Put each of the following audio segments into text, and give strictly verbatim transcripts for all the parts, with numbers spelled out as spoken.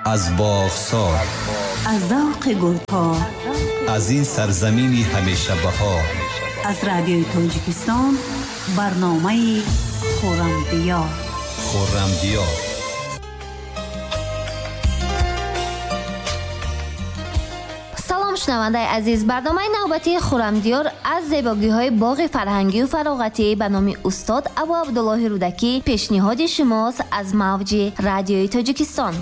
Аз боғсор, аз завқи гулҳо, аз ин сарзамини ҳамеша баҳор, аз радиои Тоҷикистон барномаи Хуррамдиёр. Хуррамдиёр. Салом шунавандаи азиз, барномаи навбатии Хуррамдиёр аз зебогиҳои боғи фарҳангию фароғатӣ ба номи устод Абу Абдуллоҳи Рӯдакӣ пешниҳоди шумост аз мавҷи радиои Тоҷикистон.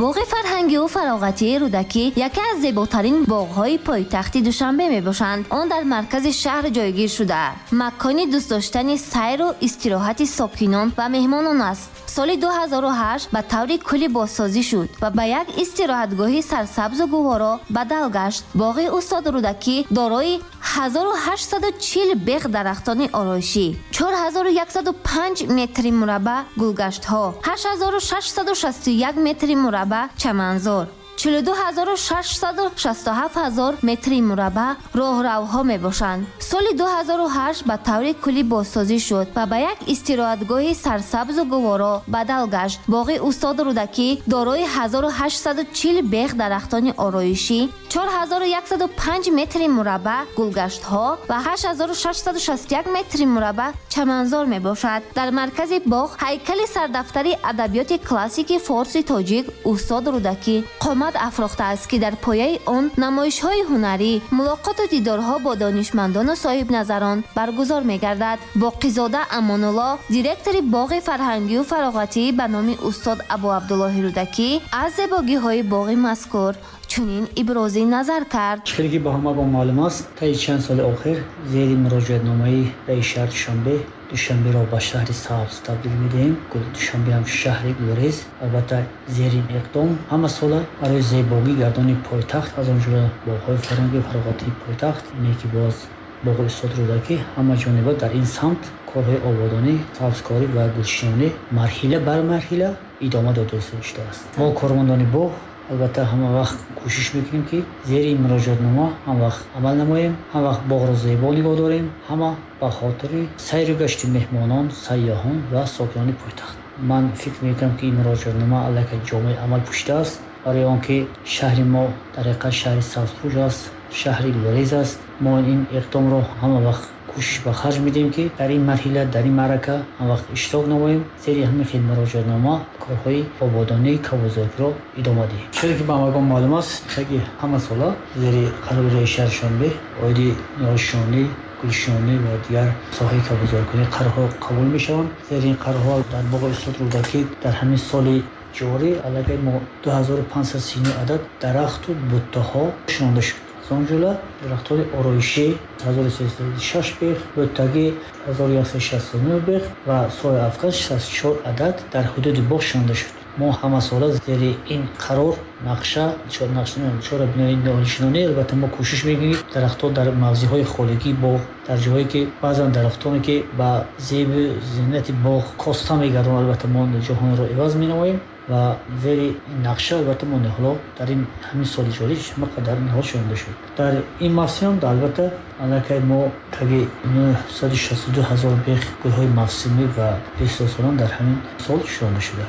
Боғи фарҳангию фароғатии Рӯдакӣ яке аз зеботарин боғҳои пойтахти Душанбе мебошанд. Он дар маркази шаҳр ҷойгир шуда, макони дӯстдоштани сайру истироҳати сокинон ва меҳмонон аст. Соли ду ҳазору ҳашт ба таври куллӣ бозсозӣ шуд ва ба як истироҳатгоҳи сарсабзу гуворо бадал гашт. Боғи устод Рӯдакӣ дорои ҳазору ҳаштсаду чил бех дарахтони ороишӣ, чор ҳазору яксаду панҷ метри мураббаъ гулгаштҳо, ҳашт ҳазору шашсаду шасту як метри мураббаъ чаманзор, чилу ду ҳазору шашсаду шасту ҳафт ҳазор метри мураббаъ роҳравҳо мебошанд. Соли ду ҳазору ҳашт ба таври куллӣ бозсозӣ шуд ва ба як истироҳатгоҳи сарсабзу гуворо бадал гашт. Боғи устод Рӯдакӣ дорои ҳазору ҳаштсаду чил бех дарахтони ороишӣ, чор ҳазору яксаду панҷ метри мураббаъ гулгаштҳо ва ҳашт ҳазору шашсаду шасту як метри мураббаъ чаманзор мебошад. Дар маркази боғ ҳайкали сардафтари адабиёти классики форси тоҷик устод Рӯдакӣ қомат афрохтааст, ки дар пояи он намоишҳои ҳунарӣ, мулоқоту дидорҳо бо донишмандону соҳибназарон баргузор мегардад. Боқизода Амонулло, директори боғи фарҳангию фароғатӣ ба номи устод Абу Абдуллоҳи Рӯдакӣ, аз зебогиҳои боғи мазкур чунин ибрози назар кард. Хеле ки ба ҳамагон маълум аст, таи чанд соли охир зери муроҷиатномаи раиси шаҳри Душанбе Душанберо ба шаҳри сабз табдил медиҳем. Душанбе ҳам шаҳри гулрез. Албатта зери иқдом ҳама сола барои зебогӣ гардони пойтахт, аз он ҷумла боғҳои фарҳангию фароғатии пойтахт, ине ки боз боғи устод Рӯдакӣ, ҳама ҷониба дар ин самт корҳои ободонӣ, сабзкорӣ ва гулшинонӣ марҳила бар марҳила идома дода шудааст. Мо кормандони боғ албатта ҳама вақт кӯшиш мекунем, ки зери ин муроҷиатнома ҳам вақт амал намоем, ҳам вақт боғро зебо нигоҳ дорем, ҳама ба хотири сайру гашти меҳмонон, сайёҳон ва сокинони пойтахт. Ман фикр мекунам, ки ин муроҷиатнома аллакай ҷомеи амал пӯшидааст, барои он ки шаҳри мо дар ҳақиқат шаҳри сабзпӯш аст, шаҳри гулрез аст. Мо ин иқдомро ҳама вақт кӯшиш ба харҷ медиҳем, ки дар ин марҳила, дар ин маърака ҳам вақт иштирок намоем, зери ҳамин хел муроҷиатнома корҳои ободонии кабудзоркиро идома диҳем. Чизе ки ба ҳамагон маълум аст, таги ҳама сола зери қарори раиси шаҳри Душанбе оиди ниҳолшинонӣ, гулшинонӣ ва дигар соҳаи кабудзоркунӣ қарорҳо қабул мешаванд. Зери ин қарорҳо дар боғи устод Рӯдакӣ дар ҳамин соли ҷорӣ аллакай мо ду ҳазору панҷсаду сию нӯҳ адад дарахту буттаҳо шинонда шуд. Аз он ҷумла дарахтони ороишӣ ҳазору сесаду шаш бех, буттагӣ ҳазору яксаду шасту нӯҳ бех ва сояафкан шасту чор адад дар ҳудуди боғ шинонда шуд. Мо ҳамасола зери ин қарор, нақша, чорабинои ниҳолшинонӣ албатта мо кӯшиш мекунем, ки дарахтҳо дар мавзеъҳои холигии боғ, дар ҷоҳое ки баъзан дарахтоне ки ба зебу зинати боғ коста мегардонанд, албатта мо ҷоҳонро иваз менамоем ва зери ин нақша албатта мо ниҳолҳо дар ин ҳамин соли ҷорӣ ҳама қадар ниҳол шинонда шуд. Дар ин мавсим албатта аллакай мо таги нӯҳсаду шасту ду ҳазор бех гулҳои мавсимӣ ва бистосолон дар ҳамин сол шинонда шуда.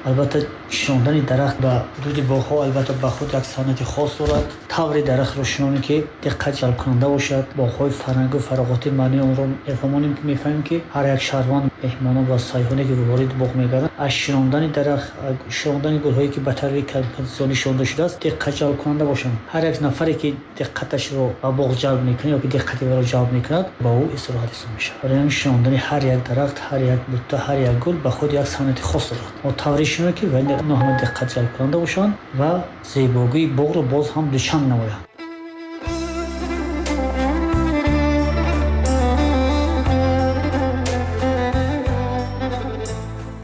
Албатта шинондани дарахт ба ҳудуди боғҳо албатта ба худ як санъати хос дорад. Таври дарахтро шинонем, ки диққат ҷалбкунанда бошад. Боғҳои фарҳангу фароғатӣ маънии онро мефаҳмонем, ки мефаҳмем, ки ҳар як шаҳрванд, меҳмонон ва сайёҳоне ки вориди боғ мегарданд, аз шинондани дарахт, шинондани гулҳое ки ба таври композитсионӣ шинонда шудааст, диққат ҷалбкунанда бошанд. Ҳар як нафаре ки диққаташро ба боғ ҷалб мекунад ё ки диққати ӯро ҷалб мекунад, ба ӯ истироҳат ҳисоб мешавад. Барои ҳамин шинондани ҳар як дарахт, ҳар як бутта, ҳар як гул ба худ як санъати хос дорад. Мо тавре шинонем, ки инҳо ҳама диққат ҷалбкунанда бошанд ва зебогии боғро боз ҳам дучанд намоянд.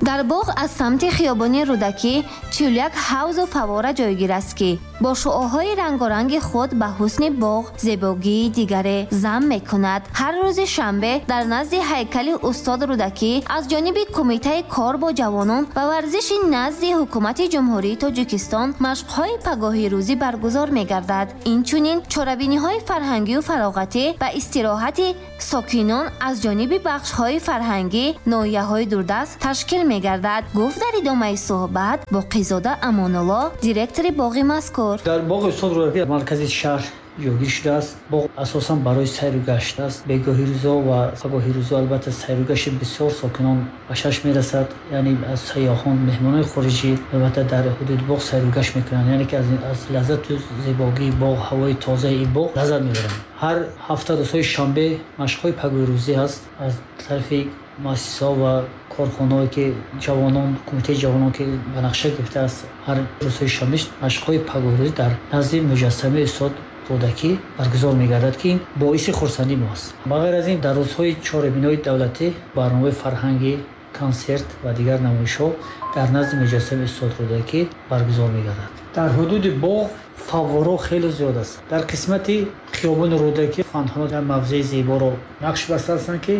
Дар Дар боғ аз самти хиёбони Рӯдакӣ чилу як ҳавзу фаввора ҷойгир аст, ки бо шуоҳои рангоранги худ ба ҳусни боғ зебогии дигаре зам мекунад. Ҳар рӯзи шанбе дар назди ҳайкали устод Рӯдакӣ аз ҷониби Кумитаи кор бо ҷавонон ва варзиши назди Ҳукумати Ҷумҳурии Тоҷикистон машқҳои пагоҳи рӯзӣ баргузор мегардад. Инчунин чорабиниҳои фарҳангию фароғатӣ ва истироҳати сокинон аз ҷониби бахшҳои фарҳангӣ ноҳияҳои дурдаст ташкил мегардад, гуфт дар идомаи суҳбат Боқизода Амонулло, директори боғи мазкур. Дар боғи устод Рӯдакӣ маркази шаҳр ҷойгир шудааст. Боғ асосан барои сайру гашт аст. Бегоҳи рӯзо ва пагоҳи рӯзо албатта сайру гашти бисёр сокинон ба чашм мерасад. Яъне аз сайёҳон, меҳмонони хориҷӣ албатта дар ҳудуди боғ сайру гашт мекунанд. Яъне ки аз лаззату зебогии боғ, ҳавои тозаи ин боғ лаззат мебаранд. Ҳар ҳафта рӯзҳои шанбе машқҳои пагоҳи рӯзӣ ҳаст аз тарафи муассисаҳо ва корхонаҳое ки ҷавонон, кумитаи ҷавонон ки ба нақша гирифтааст, ҳар рӯзҳои шанбе машқҳои пагоҳи рӯзӣ дар назди муҷассамаи устод Рӯдакӣ баргузор мегардад, ки ин боиси хурсандии мо аст. Ба ғайр аз ин дар рӯзҳои чорабиниҳои давлатӣ барномаҳои фарҳангӣ, консерт ва дигар намоишҳо дар назди муҷассамаи устод Рӯдакӣ баргузор мегардад. Дар ҳудуди боғ фаввораҳо хеле зиёд аст. Дар қисмати хиёбони Рӯдакӣ фонтанҳо дар мавзеи зеборо нақш бастаанд, ки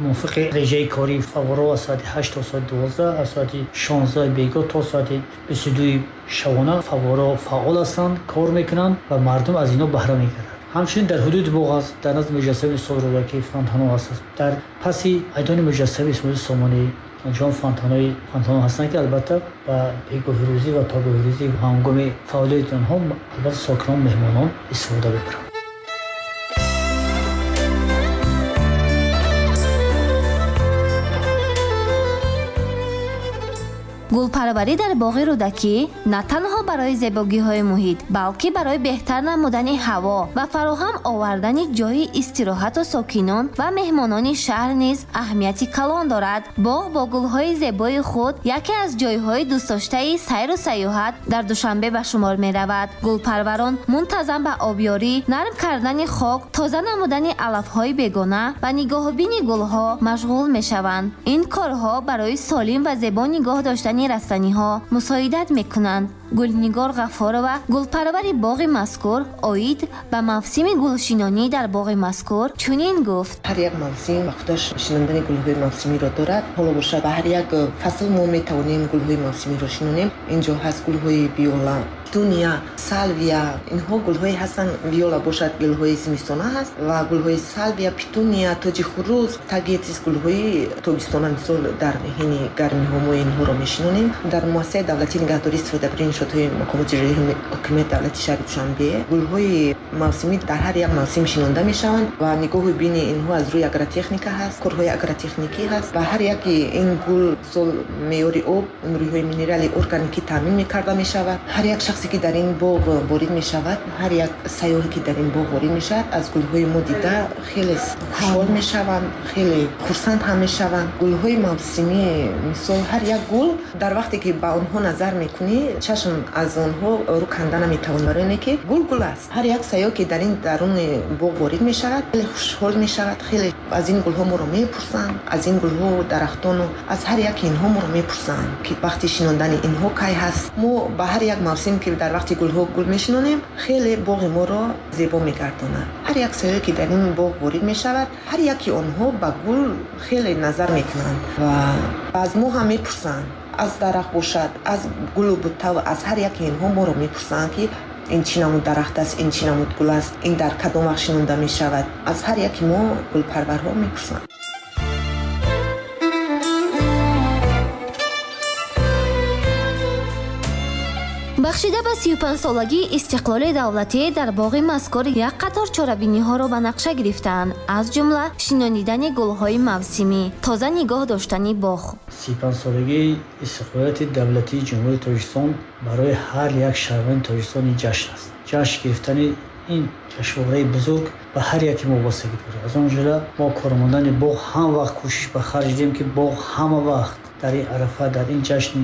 мувофиқи режаи кории фаввораҳо аз соати ҳашт то соати дувоздаҳ, аз соати шонздаҳ бегоҳ то соати бисту дуи шабона фаввораҳо фаъол ҳастанд, кор мекунанд ва мардум аз инҳо баҳра мегиранд. Ҳамчунин дар ҳудуди боғ аст, дар назди муҷассамаи устод Рӯдакӣ фонтанҳо ҳастанд. Дар паси айдони муҷассамаи Исмоили Сомонӣ онҷо фонтанҳои фонтанҳо ҳастанд, ки албатта ба бегоҳи рӯзӣ ва пагоҳи рӯзӣ ҳангоми фаъолияти онҳо албатта сокинон, меҳмонон истифода мебаранд. Гулпарварӣ дар боғи Рӯдакӣ на танҳо барои зебогиҳои муҳит, балки барои беҳтар намудани ҳаво ва фароҳам овардани ҷойи истироҳату сокинон ва меҳмонони шаҳр низ аҳамияти калон дорад. Боғ бо гулҳои зебои худ яке аз ҷойҳои дӯстдоштаи сайру сайёҳат дар Душанбе ба шумор меравад. Гулпарварон мунтазам ба обёрӣ, нарм кардани хок, тоза намудани алафҳои бегона ва нигоҳубини гулҳо машғул мешаванд. Ин корҳо барои солим ва зебо нигоҳ доштани растаниҳо мусоидат мекунанд. Гулнигор Ғаффорова, гулпарвари боғи мазкур, оид ба мавсими гулшинонӣ дар боғи мазкур чунин гуфт: ҳар як мавсим ба худаш шинондани гулҳои мавсимиро дорад. Ҳоло бошад ба ҳар як фасл мо метавонем гулҳои мавсимиро шинонем. Инҷо ҳаст гулҳои виола, петуния, салвия. Инҳо гулҳое ҳастанд. Виола бошад гулҳои зимистона ҳаст ва гулҳои салвия, петуния, тоҷи хурӯс, тагетис гулҳои тобистона, мисол дар ҳини гармиҳо мо инҳоро мешинонем. Дар муассисаи давлатии нигаҳдории истифодабарии иншоотҳои мақомоти иҷроияи ҳокимияти давлатии шаҳри Душанбе гулҳои мавсимӣ дар ҳар як мавсим шинонда мешаванд ва нигоҳу бини инҳо аз рӯи агротехника ҳаст, корҳои агротехникӣ ҳаст ва ҳар яке ин гул мисол меъёри об, нуриҳои минерали органикӣ таъмин мекарда мешавад. Ҳар як шахсе ки дар ин боғ ворид мешавад, ҳар як сайёҳе ки дар ин боғ ворид мешавад, аз гулҳои мо дида хеле хушҳол мешаванд, хеле хурсанд ҳам мешаванд. Гулҳои мавсимӣ мисол ҳар як гул дар вақте ки ба онҳо назар мекунӣ, чашм аз онҳо рӯ канда наметавон, барои ине ки гул гул аст. Ҳар як сайёҳ ки дар ин даруни боғ ворид мешавад, хеле хушҳол мешавад, хеле аз ин гулҳо моро мепурсанд, аз ин гулҳо, дарахтону аз ҳар яки инҳо моро мепурсанд ки вақти шинондани инҳо кай ҳаст. Мо ба ҳар як мавсим ки дар вақти гулҳо гул мешинонем, хеле боғи моро зебо мегардонад. Ҳар як сайёҳе ки дар ин боғ ворид мешавад, ҳар яки онҳо ба гул хеле назар мекунанд ва аз мо ҳам мепурсанд. Аз дарахт бошад, аз гулу бутта, аз ҳар яки инҳо моро мепурсанд ки ин чӣ намуд дарахт аст, ин чӣ намуд гул аст, ин дар кадом вақт шинонда мешавад. Аз ҳар яки мо гулпарварҳо мепурсанд. Бахшида ба сию панҷсолагии истиқлоли давлатӣ дар боғи мазкур як қатор чорабиниҳоро ба нақша гирифтаанд, аз ҷумла шинонидани гулҳои мавсимӣ, тоза нигоҳ доштани боғ. Сию панҷсолагии истиқлолияти давлатии Ҷумҳурии Тоҷикистон барои ҳар як шаҳрванди Тоҷикистон ин ҷашн аст. Ҷашн гирифтани ин ҷашнвораи бузург ба ҳар яке мо вобастагӣ дорад. Аз он ҷумла мо кормандони боғ ҳам вақт кӯшиш ба харҷ дидем, ки боғ ҳама вақт дар ин арафа, дар ин ҷашн,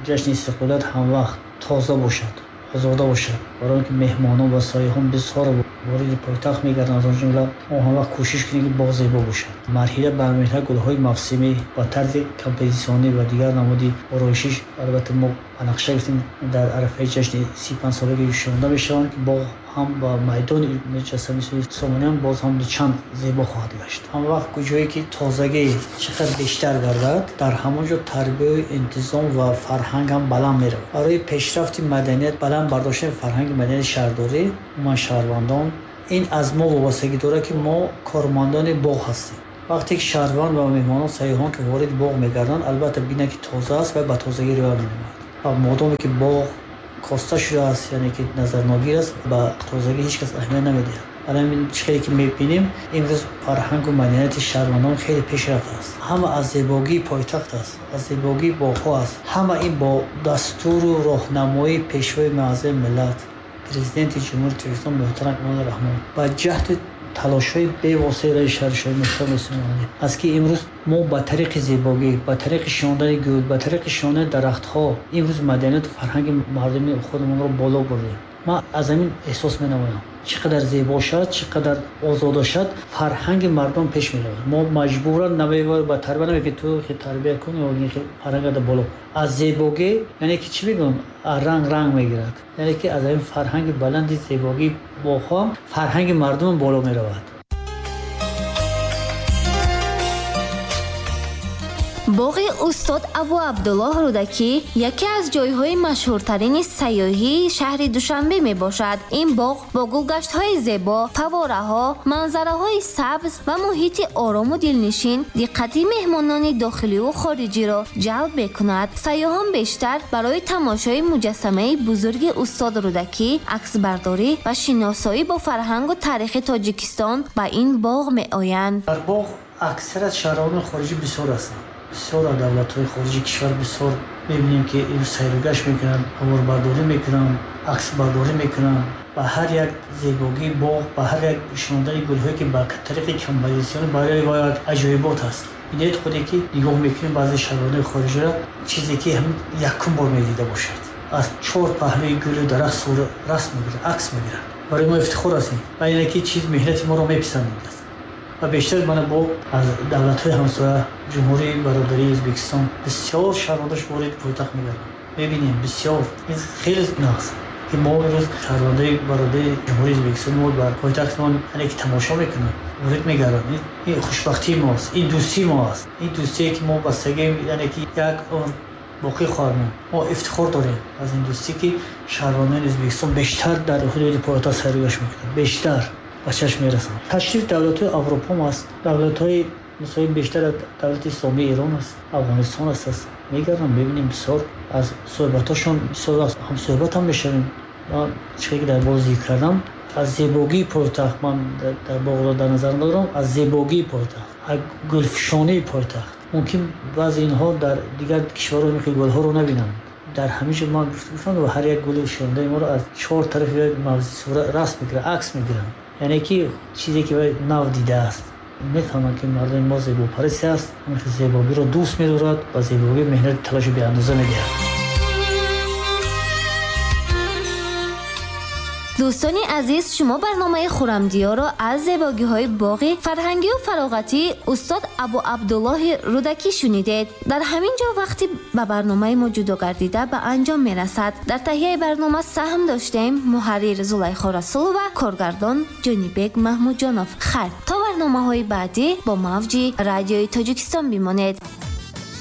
ҷашни истиқлолият ҳам вақт тоза бошад, озода бошад, барои он ки меҳмонон ва сайёҳон бисёр вориди пойтахт мегарданд, аз он ҷумла мо ҳам вақт кӯшиш кунем, ки боғ зебо бошад. Марҳила ба марҳила гулҳои мавсимӣ ба тарзи композитсионӣ ва дигар намуди ороишиш, албатта мо ба нақша гирифтем, дар арафаи ҷашни си панҷ солагӣ шунонда мешаванд, ки боғ ҳам ба майдони муҷассамаи Сомониён боз ҳам дучанд зебо хоҳад гашт. Ҳам вақт куҷое ки тозагӣ чӣ қадар бештар гардад, дар ҳамон ҷо тарбияю интизом ва фарҳанг ҳам баланд меравад. Барои пешрафти маданият, баланд бардоштани фарҳанги маданияти шаҳрдорӣ, умуман шаҳрвандон, ин аз мо вобастагӣ дорад, ки мо кормандони боғ ҳастем. Вақте ки шаҳрванд ва меҳмонон, сайёҳон ки вориди боғ мегарданд, албатта бинанд, ки тоза аст ва ба тозагӣ риоя менамояд. Ва модоме ки боғ коста шудааст, яъне ки назарногир аст, ба тозагӣ ҳеҷ кас аҳамият намедиҳад. Барои ҳамин чӣ хеле ки мебинем, имрӯз фарҳангу маданияти шаҳрвандон хеле пешрафт аст. Ҳама аз зебогии пойтахт аст, аз зебогии боғҳо аст. Ҳама ин бо дастуру роҳнамоии Пешвои муаззами миллат, Президенти Ҷумҳурии Тоҷикистон муҳтарам Эмомалӣ Раҳмон ба ҷаҳди талошҳои бевоситаи раиси шаҳри Душанбе муҳтарам Эмомалӣ аст, ки имрӯз мо ба тариқи зебогӣ, ба тариқи шинондани гул, ба тариқи шинондани дарахтҳо имрӯз маданияту фарҳанги мардуми худамонро боло бурдем. Ман аз ҳамин эҳсос менамоям, чӣ қадар зебо шавад, чӣ қадар озода шавад, фарҳанги мардум пеш меравад. Мо маҷбуран намебарем ба тарбия, намегӯем, ки ту тарбия кун ё фарҳангро боло. Аз зебогӣ, яъне ки чӣ мегӯям, ранг ранг мегирад. Яъне ки аз ҳамин фарҳанги баланди зебогии боғҳо фарҳанги мардум боло меравад. Боғи устод Абу Абдуллоҳ Рӯдакӣ яке аз ҷойҳои машҳуртарини сайёҳии шаҳри Душанбе мебошад. Ин боғ бо гулгаштҳои зебо, фавораҳо, манзараҳои сабз ва муҳити орому дилнишин диққати меҳмонони дохиливу хориҷиро ҷалб мекунад. Сайёҳон бештар барои тамошои муҷассамаи бузурги устод Рӯдакӣ, аксбардорӣ ва шиносоӣ бо фарҳангу таърихи Тоҷикистон ба ин боғ меоянд. Дар боғ аксарияти шаҳрвандони хориҷӣ бисёр ҳастанд. Бисёр аз давлатҳои хориҷи кишвар бисёр мебинем, ки имрӯз сайругашт мекунанд, ҳаворбардорӣ мекунанд, аксбардорӣ мекунанд. Ба ҳар як зебогии боғ, ба ҳар як шинондани гулҳое, ки ба тариқи композитсионӣ барои вай як аҷоибот аст. Бинед худе ки нигоҳ мекунем баъзе шаҳрвандони хориҷиро, чизе ки ҳамин якум бор медида бошад. Аз чор паҳлӯи гулу дарахт сура расм мегирад, акс мегирад. Барои мо ифтихор аст ин. Ва ине ки чиз меҳнати моро меписандид аст. Ва бештар мана бо аз давлатҳои ҳамсоя, Ҷумҳурии Бародарии Ӯзбекистон бисёр шаҳрвандош ворид пойтахт мегарданд. Мебинем бисёр. Ин хеле нағз, ки мо имрӯз шаҳрвандои бародари Ҷумҳурии Ӯзбекистон мо бар пойтахтмон яъне ки тамошо мекунанд, ворид мегарданд. Ин хушбахтии мост, ин дӯстии мо аст. Ин дӯстие ки мо бастагием, яъне ки як умр боқӣ хоҳад монд. Мо ифтихор дорем аз ин дӯстӣ, ки шаҳрвандони Ӯзбекистон бештар дар ҳудуди пойтахт сайругашт мекунанд, бештар ба чашм мерасанд. Ташриф давлатҳои Аврупо аст, давлатҳои мисоли бештар аз давлати Исломии Эрон аст, Афғонистон аст, аст. Мегардам, мебинем бисёр аз суҳбатҳошон бисёр вақт ҳамсуҳбат ҳам мешавем. Ман чизе ки дар боз зикр кардам, аз зебогии пойтахт ман дар боғро дар назар дорам, аз зебогии пойтахт, аз гулфишонии пойтахт. Мумкин баъзе инҳо дар дигар кишварҳо ин гулҳоро набинанд. Дар ҳамин ҷо ман гуфтам, ҳар як гули шондаи моро аз чор тарафи мавзеъ сура расм мегиранд, акс мегиранд. Яъне ки чизе ки нав дидааст. Мефаҳманд, ки мардуми мо зебопараст аст, зебогиро дӯст медорад ва зебогӣ меҳнати талоши беандоза медиҳад. Дӯстони азиз, шумо барномаи Хуррамдиёрро аз зебогиҳои боғи фарҳангию фароғатии устод Абу Абдуллоҳи Рӯдакӣ шунидед. Дар ҳамин ҷо вақти ба барномаи мо ҷудо гардида ба анҷом мерасад. Дар таҳияи барнома саҳм доштем муҳаррир Зулайхо Расулова, коргардон Ҷонибек Маҳмудҷонов. Хайр, то барномаҳои баъдӣ бо мавҷи радиои Тоҷикистон бимонед.